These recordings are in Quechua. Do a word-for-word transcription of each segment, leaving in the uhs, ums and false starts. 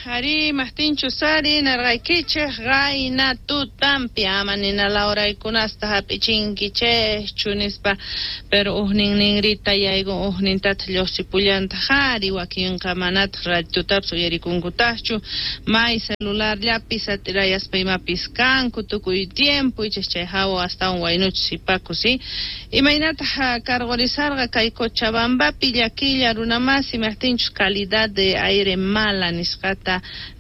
Ari imaqtinchus ari narqaykichik qayna tutampi ama nina lawraykunasta hap'ichinkichikchu nispa, pero uhnin ninrita yaykun uhnintataq lluqsipullantaq ari wakinqa manataq ratutapis uyarikunkutaqchu may celularllapi satirayaspa imapis kanku tukuy tiempo ichas chay hawa astawan waynuchus sipakus imaynataq karqurisarqa kay Cochabambapi llakilla runamasi imaqtinchus calidad de aire mala nisqata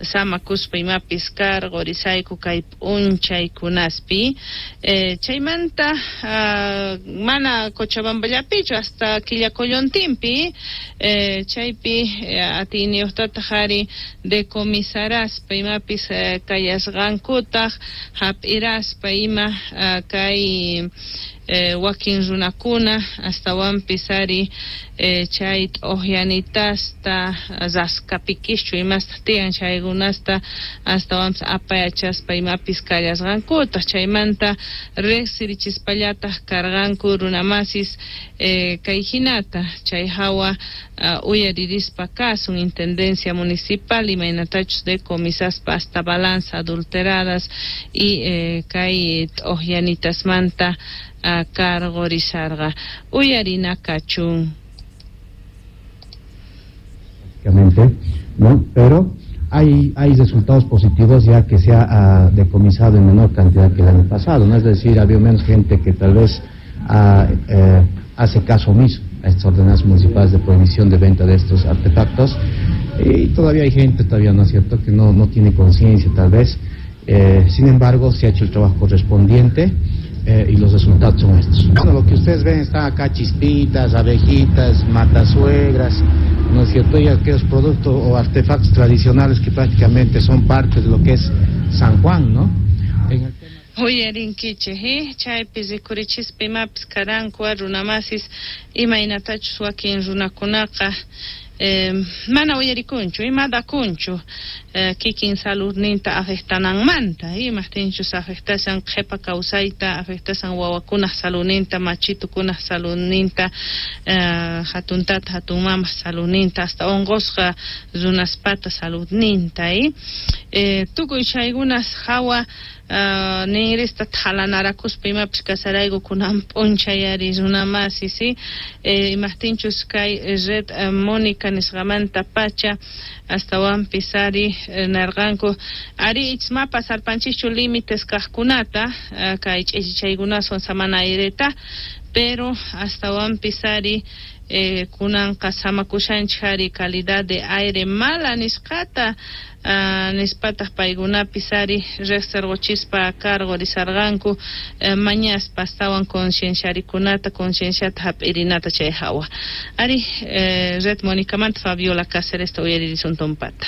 samakuspa imapis karqurisayku kay p'unchaykunaspi eh, chaymanta uh, mana Cochabamballapichu hasta Quillacollontinpi eh, chaypi eh, atiyniyuqtataq ari decomisaraspa imapis eh, kayasqankutaq hap'iraspa ima uh, kay eh, wakin runakuna astawanpis ari eh, chay t'uqyanitasta raskapikischu imasta tiyan chaykunasta astawanpis apayachaspa imapis kallasqankutaq chaymanta riqsirichispallataq karqanku runamasis eh, kay hinata chay hawa uh, uyaririspa kasun intendencia municipal imaynatachus decomisaspa hasta balanza adulteradas y eh, kay t'uqyanitasmanta uh, karqurisarqa uyarina kachun. ¿No? Pero hay, hay resultados positivos ya que se ha uh, decomisado en menor cantidad que el año pasado, ¿no? Es decir, había menos gente que tal vez uh, eh, hace caso omiso a estas ordenanzas municipales de prohibición de venta de estos artefactos, y todavía hay gente, todavía no es cierto, que no, no tiene conciencia tal vez. Eh, sin embargo, se ha hecho el trabajo correspondiente eh, y los resultados son estos. Bueno, lo que ustedes ven están acá chispitas, abejitas, matasuegras, ¿no es cierto? Y aquellos productos o artefactos tradicionales que prácticamente son parte de lo que es San Juan, ¿no? En el Uyarinkichik, chaypi rikurichispa imapis karanku runamasis imaynatachus wakin runakunaqa eh, mana uyarikunchu imadakunchu eh, kikin saludninta afectananmanta imaqtinchus afectashan qhipa kawsayta afectashan wawakunaq saludninta machitukunaq saludninta eh, hatun tata hatun mamaq saludninta hasta unqusqa runaspata saludninta eh, tukuy chaykunas hawa Uh, ninrista thalanarakuspa imapis kasarayku kunan p'unchay ari runamasi si eh, imaqtinchus kay red uh, Mónica nisqamanta pacha astawanpis ari eh, narqanku ari ichmapa sarpanchischu límites kaqkunata uh, kay ch'ichichaykunaswan samana aireta pero astawanpis ari eh, kunanqa samakushanchik ari calidad de aire mala nisqata uh, nispataq paykunapis ari riqsirquchispa karqurisarqanku uh, mañaspa astawan concienciarikunata concienciata hap'irinata chay hawa ari eh, red Mónicamanta Fabiola Cáceres uyaririsun tumpata.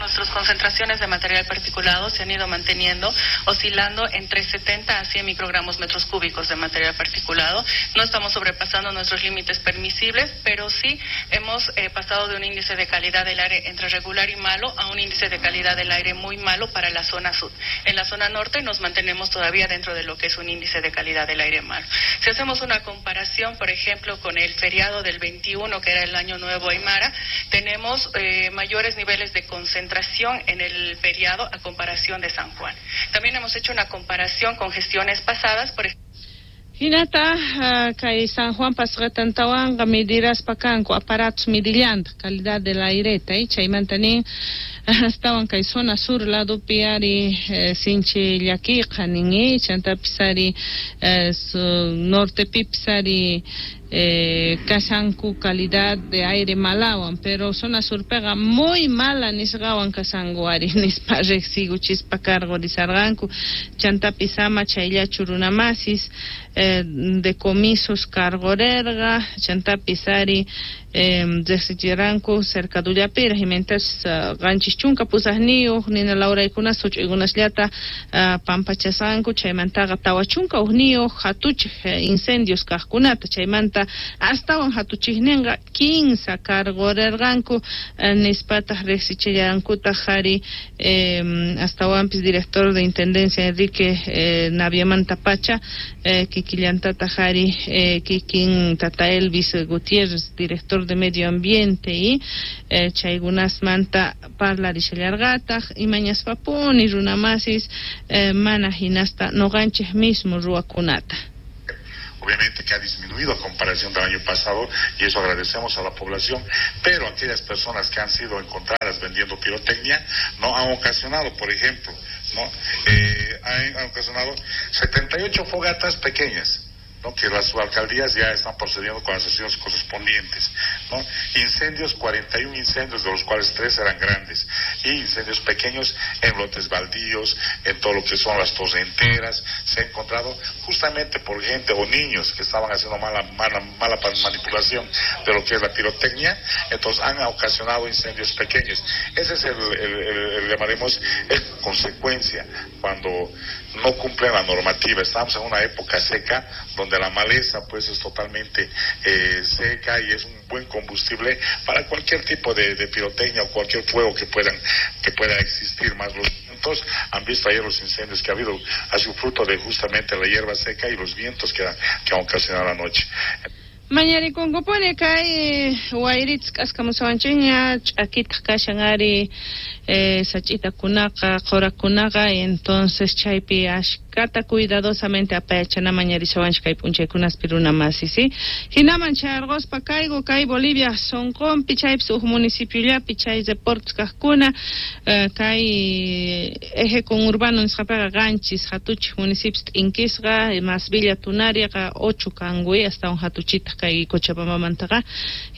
Nuestras concentraciones de material particulado se han ido manteniendo, oscilando entre setenta a cien microgramos metros cúbicos de material particulado. No estamos sobrepasando nuestros límites permisibles, pero sí hemos eh, pasado de un índice de calidad del aire entre regular y malo a un índice de calidad del aire muy malo para la zona sur. En la zona norte nos mantenemos todavía dentro de lo que es un índice de calidad del aire malo. Si hacemos una comparación, por ejemplo, con el feriado del veintiuno, que era el Año Nuevo Aymara, tenemos eh, mayores niveles de concentración en el feriado a comparación de San Juan. También hemos hecho una comparación con gestiones pasadas, por ejemplo. Hinata uh, kay San Juan pasqatantawanqa mediraspa kanku aparatos midillanta calidad del aireta y chaymanta nin astawan kay zona sur ladopi ari eh, sinchi llakiqa nin chantapis ari eh, nortepipis ari eh, kashanku calidad de aire malawan pero zona surpiqa muy mala nisqawan kashanku ari nispa riqsikuchispa karqurisarqanku chantapis ama chayllachu runamasis eh, decomisos karqurerqa chantapis ari eh, riqsichiranku cercadullapiraq imaynatas uh, qanchis chunka pusaqniyuq nina lawraykunas huch'uykunasllata uh, pampachasqanku chaymantaqa tawa chunka hukniyuq hatuchiq incendios kaqkunata chaymanta astawan hatuchiqninqa kinsa karqurirqanku uh, nispataq riqsichillankutaq ari eh, astawanpis director de intendencia Enrique eh, Naviamanta pacha eh, Kikillantataq ari eh, kikin tata Elvis Gutiérrez, director de Medio Ambiente, y eh, chaykunasmanta parlarishallarqataq imañaspapuni runamasis eh, mana hinasta noqanchik mismo ruwakunata. Obviamente que ha disminuido a comparación del año pasado y eso agradecemos a la población, pero aquellas personas que han sido encontradas vendiendo pirotecnia no han ocasionado, por ejemplo, no eh, han, han ocasionado setenta y ocho fogatas pequeñas, ¿no? Que las alcaldías ya están procediendo con las acciones correspondientes, ¿no? Incendios, cuarenta y un incendios, de los cuales tres eran grandes, y incendios pequeños en lotes baldíos, en todo lo que son las torrenteras, se ha encontrado justamente por gente o niños que estaban haciendo mala, mala, mala manipulación de lo que es la pirotecnia, entonces han ocasionado incendios pequeños. Ese es el, el, el, el llamaremos, el consecuencia cuando no cumplen la normativa. Estamos en una época seca donde la maleza pues es totalmente eh, seca y es un buen combustible para cualquier tipo de, de pirotecnia o cualquier fuego que puedan, que pueda existir. Más los vientos, han visto ayer los incendios que ha habido, ha sido fruto de justamente la hierba seca y los vientos que, que han ocasionado la noche. Mañarikunkupuni kay wayritas k'askamusawanchikña ch'akitaq kashan ari eh, sach'itakunaqa qurakunaqa, entonces chaypi ashkata cuidadosamente apayachana mañarisawanchik kay p'unchaykunaspi runa masi, ¿sí? Hinaman chayarquspa kayku kay Bolivia sunqunpi chaypis huk municipiollapi chay reportes kaqkuna eh, kay eje conurbano nisqapiqa qanchis hatuchik municipios t'inkisqa, más Villa Tunariqa ocho kankuy astawan hatuchitaq kay Cochabambamantaqa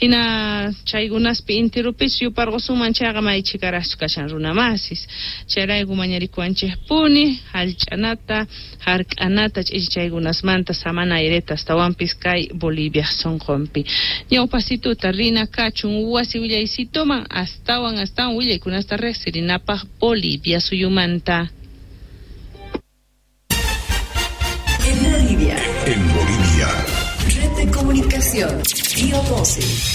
hina chaykunaspi intirupis yuparqusunman chayqa maychikaraqchu kashan runa masis chayrayku mañarikuwanchikpuni hallch'anata hark'anata ch'ichi chaykunasmanta samana aireta astawanpis kay Bolivia sunqunpi. Ñawpasituta rina kachun wasi willaysituman astawan astawan willaykunasta riqsirinapaq Bolivia suyumanta. En Bolivia. En Bolivia. Red de Comunicación, Río doce.